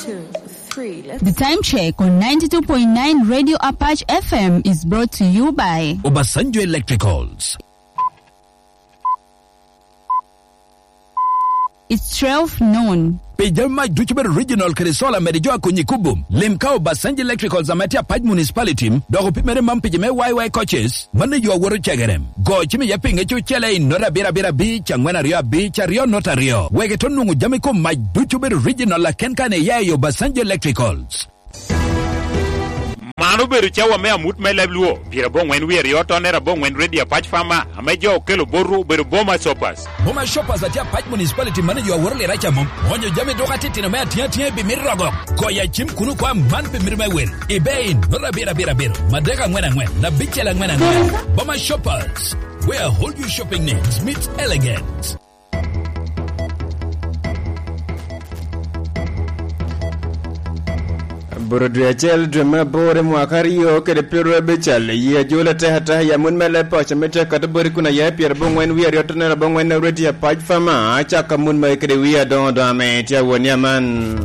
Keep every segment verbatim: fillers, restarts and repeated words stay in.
Two, three, let's The time check on ninety-two point nine Radio Apache F M is brought to you by Obasanjo Electricals. It's twelve noon. Pi jami mac ducu bedo original kede solar mede jo a konyi kubo. Lim ka Obasanjo Electricals ame tye Apac Municipality, dok opimere man pi jo me Y Y coaches, mano yo awoto cegere. Go cim iye pi ŋec ocele i nota abiro abiro abic, angwen aryo abic, aryo nota aryo. Wek ito nwoŋo jami kom mac ducu bedo original aken kan iya i Obasanjo Electricals. Man obedo cawa me amut me leb Luo, pyerabongwen wie aryo tonner abongwen Radio Apac Farmer, ame jo okelo botwu obedo Boma Shoppers. Boma Shoppers atye Apac Municipality manager a woro Liraca mom. Onyo jami duka titino me atiŋ atiŋa i bimito rogo. Goyo acim kuno kwa man pi mito me wil. Ibe in, nota abiro abiro abiro, madek angwen angwen, abicel angwen angwen. Boma Shoppers, where all your shopping needs meet elegance. Buro dwe acel, dwe me aboro, mwaka aryo kede pyeraryo abical, yi ajol atek atek, ya mut me leb paco me tye akato boti kun aya i pyerabongwen wie aryo tonero abongwen, Reti Apac Fama, acaka mut magi kede wie adoŋo doŋo ame tye awoni aman.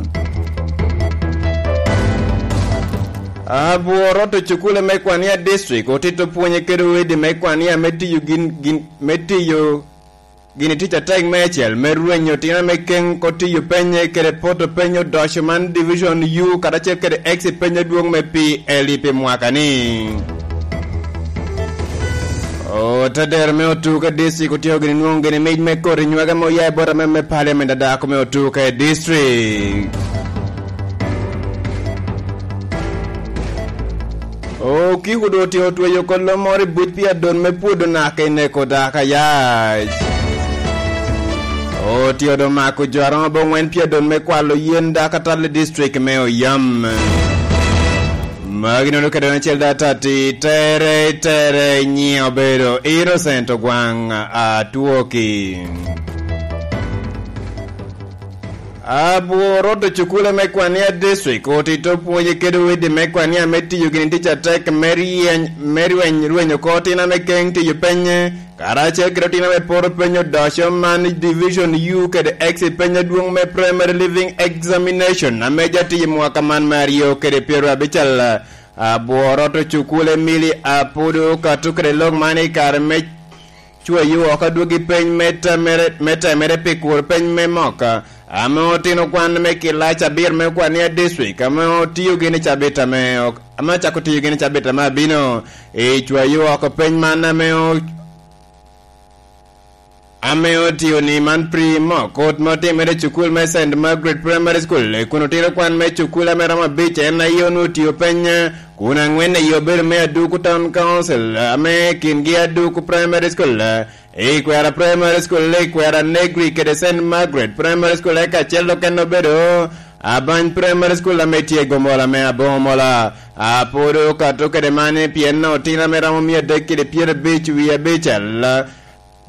Abworo to cukule me kwania district otito pwonye kede odi me kwania me tiyo gin, gin, me tiyo gini tic atek meicel me rwenyo otino ame keŋ ko tiyo penye kede poto peny odoco man Division U karacel kede X peny adwoŋ me P L E pi mwaka ni. Otedero me otuke district otio gini nwoŋo gini mic me koti nywega me oya i bot ame me parliament a dako me otuke district. Okiko doŋ otye otweyo kolo moro i buc pi adon me pwodo naka i neko dako ayac. Otye doŋ mako jo aromo aboŋwen pi adon me kwalo yen dako atal i district me Oyam. Magi nono kede acel data ti tere, tere nyiŋe obedo Innocent Ogwaŋ Atwoki. Abworo to cukule me kwania district otito pwonye kede odi me kwania me tiyo gini tic atek me ryeny, me rweny, rwenyo oko otino ame keŋ tiyo penye, karacel kede otino ame poro penyo odoco man Division U kede X penyo adwoŋ me Primary Living Examination ame ja tiyo i mwaka man me aryo kede pyeraryo abical. Abworo to cukule Emily Apudu kato kede lok man i kare me cweyo oko adwogi peny me temere, me temere pi kuro peny me mok, ame otino kwan me kilac abiro me kwania district, ame otio gini cabit ame ok, ame acako tiyo gini cabit ame abino i cweyo oko peny man ame o-, ame otio ni man pri mok, kot ma otimere i cukul me Saint Margaret Primary School, kun otino kwan me cukul ame romo abic, en aye onwoŋo otio peny, kun angwen aye obedo me Aduku Town Council, ame kingi Aduku Primary School, Ikwera Primary School, Ikwera Negri kede Saint Margaret Primary School, eka acel okene obedo Abany Primary School ame tye i Gomola me Aboŋo Mola. Apwodo okato kede man pien otino ame romo mia adek kede pyerabic wie abicel,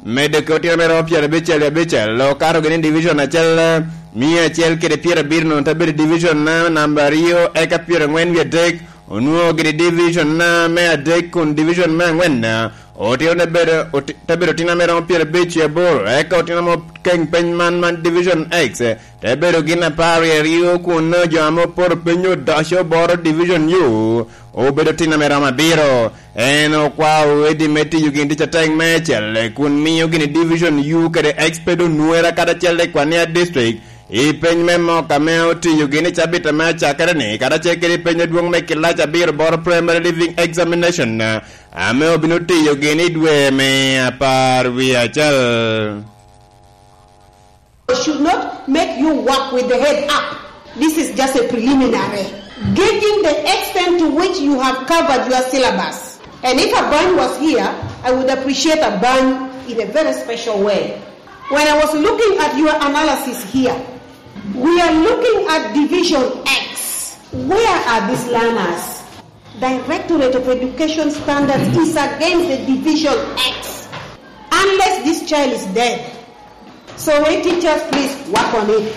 medde ki otino ame romo pyerabic wie abicel, okato gini i division acel, mia acel kede pyerabirino te bedo i division na namba aryo, eka pyerangwen wie adek, onwoŋo gini division na me adek kun division me angwen Otino te bedo, oti-, te bedo otino ame romo pyerabic wie aboro, eka otino ame okeŋ peny man, man Division X, te bedo gin apar wie aryo, kun nongo jo ame oporo piny odoco boro Division U, obedo otino ame romo abiro. En okwao odi me tiyo gin tic atek meicel, kun miyo gini Division U kede X bedo onwera kadi acel i Kwania District, I peny me mok ame otiyo gini i cabit ame acakere ni, karacel kede i peny adwoŋ me kilac abiro boro Primary Leaving Examination, ame obino tiyo gini i dwe me apar wie acel. Should not make you work with the head up. This is just a preliminary, gauging the extent to which you have covered your syllabus. And if a band was here, I would appreciate a band in a very special way. When I was looking at your analysis here, we are looking at Division X. Where are these learners? Directorate of Education Standards is against the Division X. Unless this child is dead. So, hey, teachers, please work on it.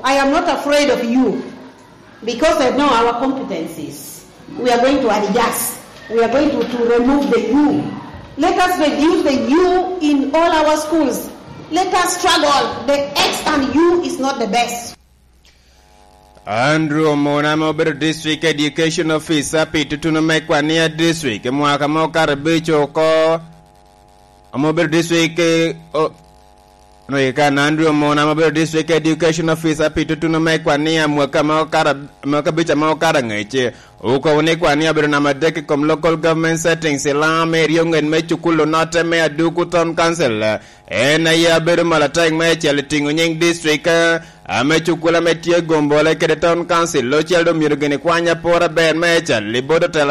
I am not afraid of you. Because I know our competencies, we are going to adjust. We are going to, to remove the U. Let us reduce the U in all our schools. Let us struggle. The X and U is not the best. Andrew Omona ame obedo District Education Officer pi tutuno me Kwania District i mwaka me okato abic oko, ame obedo District, eh, o-, no, i kan Andrew Omona ame obedo District Education Officer pi tutuno me Kwania mwaka me okato ab-, mwaka abic ame okato angec, okobo ni Kwania obedo namba adek i kom local government settings i Laŋo ame eryo ŋet me cukul onotte me Aduku Town Council. En aye abedo malatek meicel i tiŋo nyiŋ district, eh, ame cukul ame tye Gombole kede Town Council, ocel doŋ myero gini kwany apor aber meicel i bot otelo